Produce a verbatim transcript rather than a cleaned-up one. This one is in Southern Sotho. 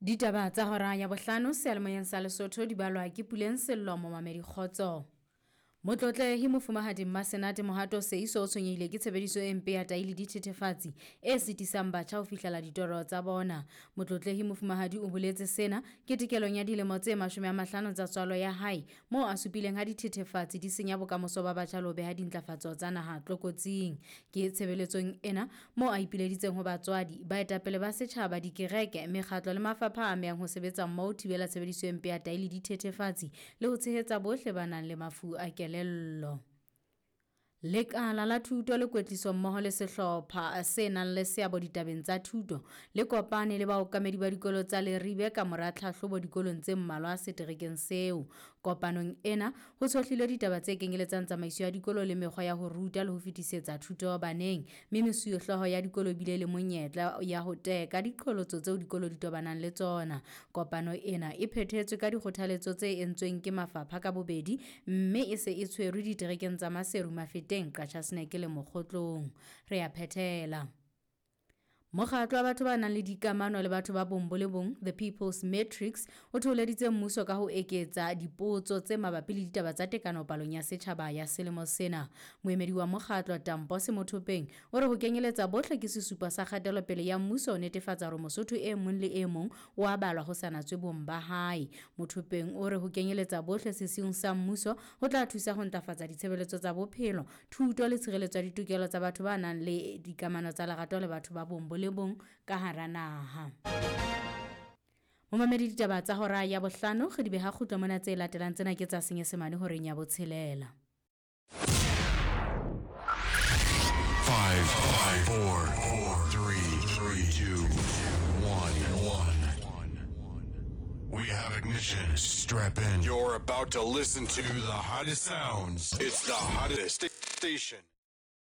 Ditaba tsa hora ya bohlano seyalemoyeng sa Lesotho di balwa ke Puleng Sello momamedi kgotso. Motlotlehi Mofumahadi Mmasenate Mohato Seiso o tshwenyehile ke tshebediso e mpe ya tai le dithethefatsi e sitisang batjha ho fihlela ditoro tsa bona. Motlotlehi Mofumahadi o boletse sena ketekelong ya dilemo tse mashome a mahlano tsa tswalo ya hae, moo a supileng ha dithethefatsi di senya bokamoso ba batjha le ho beha dintlafatso tsa naha tlokotsing. Ke tshebeletsong ena moo a ipileditseng ho batswadi, baetapele ba setjhaba, dikereke, mekgatlo le mafapha a amehang ho sebetsa mmoho ho thibela tshebediso e mpe ya tai le dithethefatsi le ho tshehetsa bohle ba nang le mafu a kelello. Lekala la thuto le kwetliso mmoho le sehlopha se nang le seabo ditabeng tsa thuto le kopane le baokamedi ba dikolo tsa Leribe ka mora tlhahlobo dikolong tse mmalwa seterekeng seo. Kopanong ena ho tshohlilwe ditaba tse kenyeletsang tsamaiso ya dikolo le mekgwa ya ho ruta le ho fetisetsa thuto baneng, mme mesuwehlooho ya dikolo e bile le monyetla ya ho teka diqholotso tseo dikolo di tobanang le tsona. Kopano ena e phethetswe ka dikgothaletso tse entsweng ke mafapha ka bobedi, mme e se e tshwerwe diterekeng tsa Maseru, Mafeteng, Qacha's Nek le Mokgotlong. Re a phethela. Mokgatlo wa batho ba nang le dikamano le batho ba bong bo le bong, The People's Matrix, o thoholeditse mmuso ka ho eketsa dipotso tse mabapi le ditaba tsa tekano palong ya setjhaba ya selemo sena. Moemedi wa mokgatlo Tampo Semothopeng o re ho kenyeletsa bohle ke sesupo sa kgatelopele ya mmuso ho netefatsa hore Mosotho e mong le e mong o a balwa ho sa natswe bong ba hae. Mothopeng o re ho kenyeletsa bohle sesiung sa mmuso ho tla thusa ho ntlafatsa ditshebeletso tsa bophelo, thuto le tshireletso ya ditokelo tsa batho ba nang le dikamano tsa lerato le batho ba bong bo le bong ka hara naha. Momamedi, ditaba tsa hora ya bohlano re di beha kgutlo mona, tse latelang tsena ke tsa Senyesemane horeng ya botshelela. Five, five, four, four, three, three, two, one, one. We have ignition. Strap in. You're about to listen to the hottest sounds. It's the hottest station.